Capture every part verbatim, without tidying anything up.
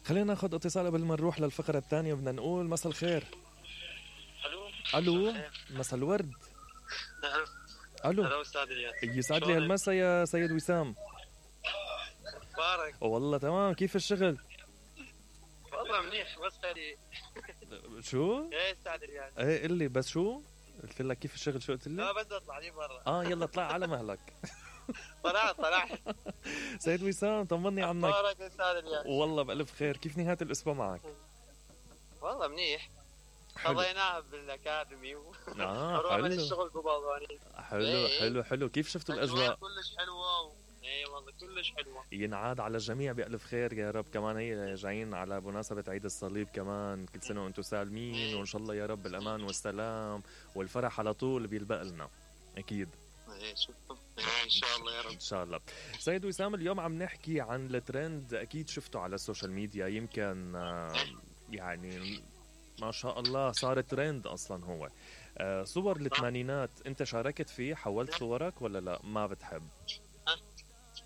خلينا ناخذ اتصال قبل ما نروح للفقرة الثانية. بدنا نقول مساء الخير. الو الو مساء الورد. الو الو استاذ الياس، يسعد لي هالمساء يا سيد وسام. مبارك. والله تمام، كيف الشغل؟ والله منيح بس خلي شو؟ ايه استاذ الياس. ايه قل لي بس شو؟ قلت لك كيف الشغل، شو قلت لي؟ لا بس اطلع لي برا. اه يلا اطلع على مهلك. طلعت طلعت. سيد وسام طمني عنك. مبارك استاذ الياس. والله بألف خير، كيف نهاية الأسبوع معك؟ والله منيح، قضيناها بالاكاديمي و اه حلو. حلو الشغل ببالغاني. حلو ايه. حلو حلو. كيف شفتوا الأجواء؟ كلش حلوة و... ايه والله كلش حلوة. ينعاد على الجميع بألف خير يا رب. كمان هي جايين على مناسبة عيد الصليب كمان، كل سنة وانتم سالمين ايه. وإن شاء الله يا رب الأمان والسلام والفرح على طول بيلبق لنا أكيد. ايه شوف ان شاء الله يا رب. ان شاء الله. سيد وسام اليوم عم نحكي عن الترند، اكيد شفته على السوشيال ميديا، يمكن آه يعني ما شاء الله صار ترند اصلا. هو آه صور الثمانينات، انت شاركت فيه؟ حولت صورك ولا لا ما بتحب؟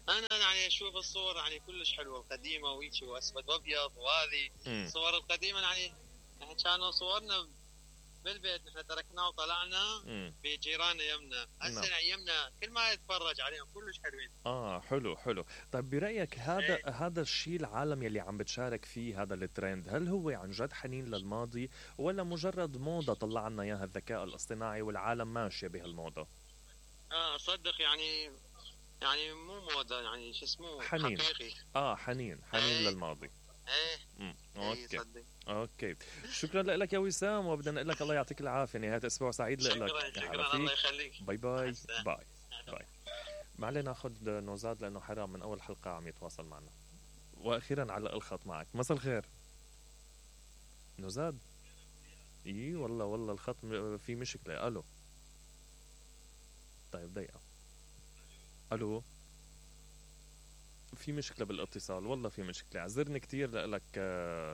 انا يعني اشوف الصور يعني كلش حلوه القديمه وهيك واسود وابيض، وهذه الصور القديمه يعني احنا كانوا صورنا بالبيت، نحن تركناه وطلعنا بجيراننا يمنا. هسه يمنا كل ما يتفرج عليهم كلش حلوين. اه حلو حلو. طيب برايك هذا ايه؟ هذا الشيء العالم يلي عم بتشارك فيه هذا الترند، هل هو عن جد حنين للماضي ولا مجرد موضه طلع لنا اياها الذكاء الاصطناعي والعالم ماشيه بهالموضه؟ اه صدق يعني يعني مو موضه، يعني شو اسمه حنين. حقيقي. اه حنين حنين ايه؟ للماضي. ايه امم اوكي صدق. اوكي شكرا لك يا وسام، وبدنا نقول لك الله يعطيك العافيه، نهايه اسبوع سعيد لك. شكرا شكرا الله يخليك. باي باي باي باي. ما علينا ناخذ نوزاد لانه حرام من اول حلقه عم يتواصل معنا. واخيرا على الخط معك. مساء الخير نوزاد. اي والله والله الخط في مشكله. الو طيب دقيقه. الو في مشكلة بالاتصال، والله في مشكلة، عذرني كتير لك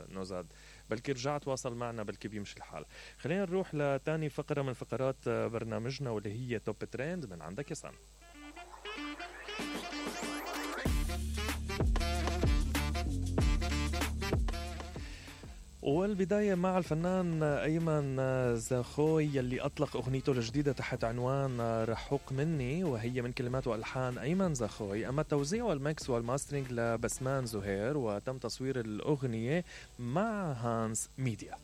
نوزاد، بلكي رجع تواصل معنا بلكي بيمشي الحال. خلينا نروح لتاني فقرة من فقرات برنامجنا واللي هي توب ترند من عندك يا سام. والبداية مع الفنان أيمن زاخوي يلي أطلق أغنيته الجديدة تحت عنوان رحوق مني، وهي من كلمات وألحان أيمن زاخوي، أما التوزيع والميكس والماسترينج لبسمان زهير، وتم تصوير الأغنية مع هانس ميديا.